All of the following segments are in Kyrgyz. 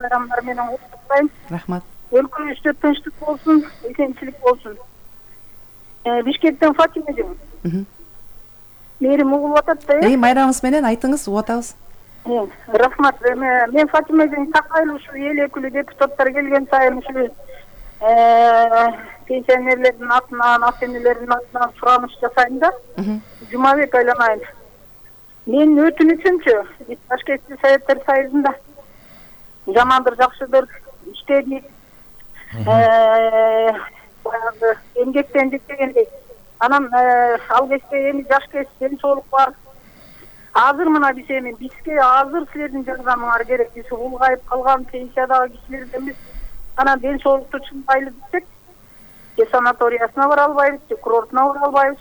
Bayramlar менен куттуктайм. Рахмат. Өлкөбүздө тынчтык болсун, эсенчилик болсун. Бишкектен Фатима эжем. Мээрим угулуп атат да. Майрамыңыз менен айтыңыз, угуп атабыз. Рахмат. Мен Фатима эжем такайлуу ушу эл өкүлү депутаттар келген сайын ушу пенсионерлердин атынан, ата энелердин атынан сураныш жасайм да. Жумабек айланайын. Менин өтүнүчүмчү, биз Ташкентти Советтер Союзунда жамандыр, жакшыдыр иштедик. Баягы эмгектендик дегендей. Анан ал кезде эми жаш кез, ден соолук бар. Азыр мына биз эми бизге азыр силердин жардамыңар керек. Биз улгайып калган пенсиядагы кишилер эмес. Анан ден соолукту чыңдайлы десек, санаториясына бара албайбыз, курортуна бара албайбыз.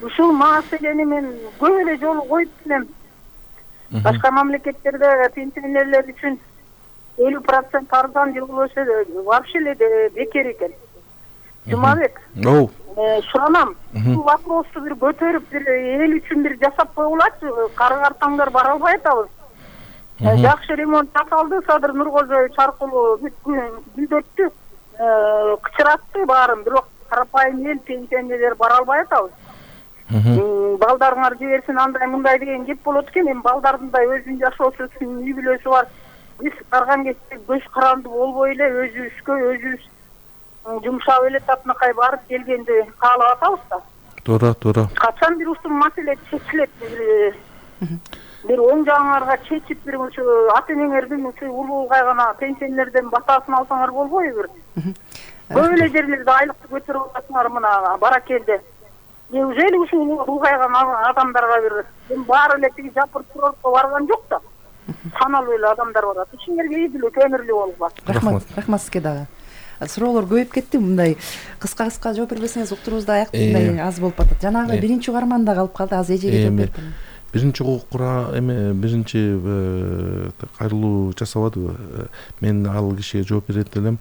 Ушул маселени мен көп эле жолу коюп келем. Башка мамлекеттерде пенсионерлер үчүн 50% арзан жыл болсо вообще эле бекер экен. Жумабек. Суранам. Бул вопросту бир көтөрүп, бир эл үчүн бир жасап койгулачы. Кары-картаңдар бара албай атабыз. Жакшы ремонт жасалды, Садыр Нуркожоевич аркылуу бүлдөттү, кычыратты баарын, бирок карапайым эл пенсионерлер бара албай атабыз. Балдарыңар жиберсин андай мындай деген кеп болот экен. Эми балдардын да өзүнүн жашоосу үчүн үй бүлөсү бар. Биз барган кезде көз каранды болбой эле өзүбүзгө өзүбүз жумшап эле татынакай барып келгенди каалап атабыз да. Туура. Качан бир ушул маселе чечилет? Бир оң жагыңарга чечип, бир ушу ата энеңердин ушу улгайган пенсионерден батасын алсаңар болбойбу? Көп эле жерлерде айлыкты көтөрүп атасыңар мына баракелде. Неужели ушул улгайган адамдарга бир баары эле тиги жапыр курортко барган жок да? Саналуу эле адамдар барат. Ишиңерге үй бүлө көмүрлүү болуп. Рахмат сизге дагы. Суроолор көбөйүп кетти, мындай кыска жооп бербесеңиз уктуруубузда аяктай аз болуп атат. Жанагы биринчи угарманда калып калды, азыр эжеге жооп бердим. Биринчи биринчи кайрылуу жасабадыбы? Мен ал кишиге жооп берет элем.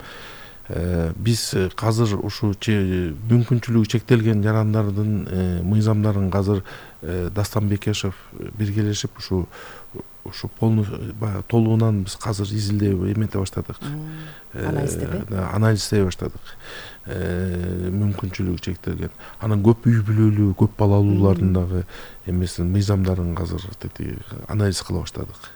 Биз азыр ушу мүмкүнчүлүгү чектелген жарандардын мыйзамдарын азыр Дастан Бекешев биргелешип ушу полный толугунан биз азыр изилдеп эмете баштадык. Анализдей баштадык. Мүмкүнчүлүгү чектелген. Анан көп үй бүлөлүү, көп балалуулардын дагы эмесин мыйзамдарын азыр анализ кыла баштадык.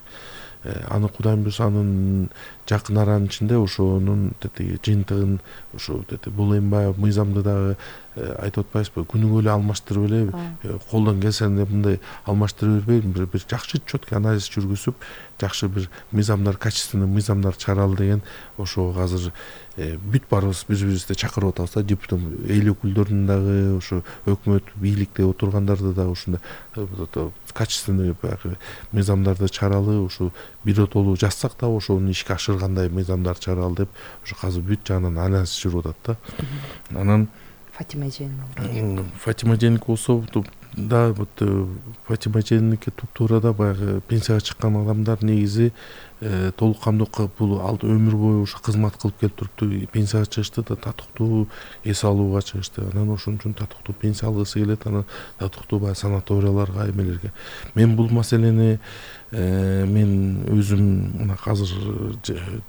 Аны Кудайым буйрса анын жакын аранын ичинде ошонун жыйынтыгын ушу бул эми баягы мыйзамды дагы айтып атпайбызбы, күнүгө эле алмаштырып эле колдон келсе мындай алмаштырып бербей бир жакшы четкий анализ жүргүзүп, жакшы бир мыйзамдар, качественный мыйзамдар чыгаралы деген ошого азыр бүт баарыбыз биз-бирибизди чакырып атабыз да, депутат эл өкүлдөрүн дагы, ошо өкмөт бийликте отургандарды дагы ушундай качественный баягы мыйзамдарды чыгаралы, ушу биротолуу жазсак да ошону ишке ашыргандай мыйзамдар чыгаралы деп ушу азыр бүт жагынан анализ жүрүп атат да. Анан Фатима эженики болсо да, Фатима эженики туптуура да баягы пенсияга чыккан адамдар негизи толук камдуу бул өмүр бою ушу кызмат кылып келип турупту, пенсияга чыгышты да, татыктуу эс алууга чыгышты. Анан ошон үчүн татыктуу пенсия алгысы келет, анан татыктуу баягы санаторияларга, эмелерге. Мен бул маселени мен өзүм мына азыр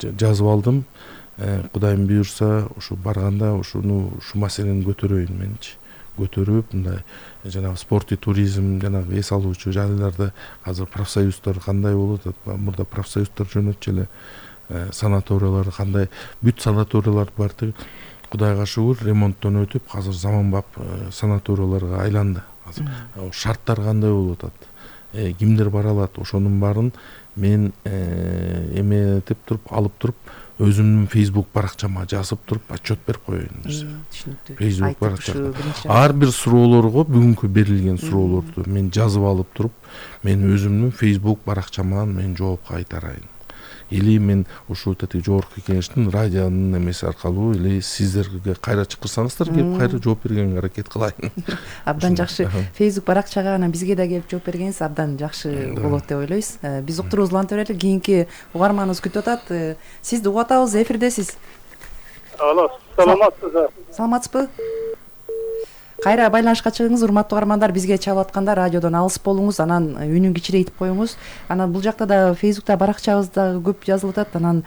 жазып алдым. Кудайым буйрса ушу барганда ушу маселени көтөрөйүн менчи. Көтөрүп, мындай жанагы спорт и туризм, жанагы эс алуучу жайларда азыр профсоюздар кандай болуп атат? Мурда профсоюздар жөнөтчү эле санаториялар кандай, бүт санаториялар бар. Кудайга шүгүр, ремонттон өтүп, азыр заманбап санаторияларга айланды. Шарттар кандай болуп атат? Кимдер бара алат? Ошонун баарын мен эметип туруп, алып туруп, өзүмдүн Facebook баракчама жазып туруп отчет берип коеюн. Facebook баракча. Ар бир суроолорго бүгүнкү берилген суроолорду мен жазып алып туруп, мен өзүмдүн Facebook баракчама мен жооп кайтарайын. Или мен ушул жогорку кеңештин радионун эмеси аркылуу или сиздерге кайра чакырсаңыздар келип кайра жооп бергенге аракет кылайын. Абдан жакшы. Facebook баракчага анан бизге да келип жооп бергениңиз абдан жакшы болот деп ойлойбуз. Биз уктуруубузду уланта берели. Кийинки угарманыбыз күтүп атат. Сизди угуп атабыз, эфирдесиз. Алло, саламатсызбы? Саламатсызбы? Кайра байланышка чыгыңыз, урматтуу угармандар. Бизге чалып атканда радиодон алыс болуңуз, анан үнүн кичирейтип коюңуз. Анан бул жакта да Facebook'та баракчабызда көп жазылып атат. Анан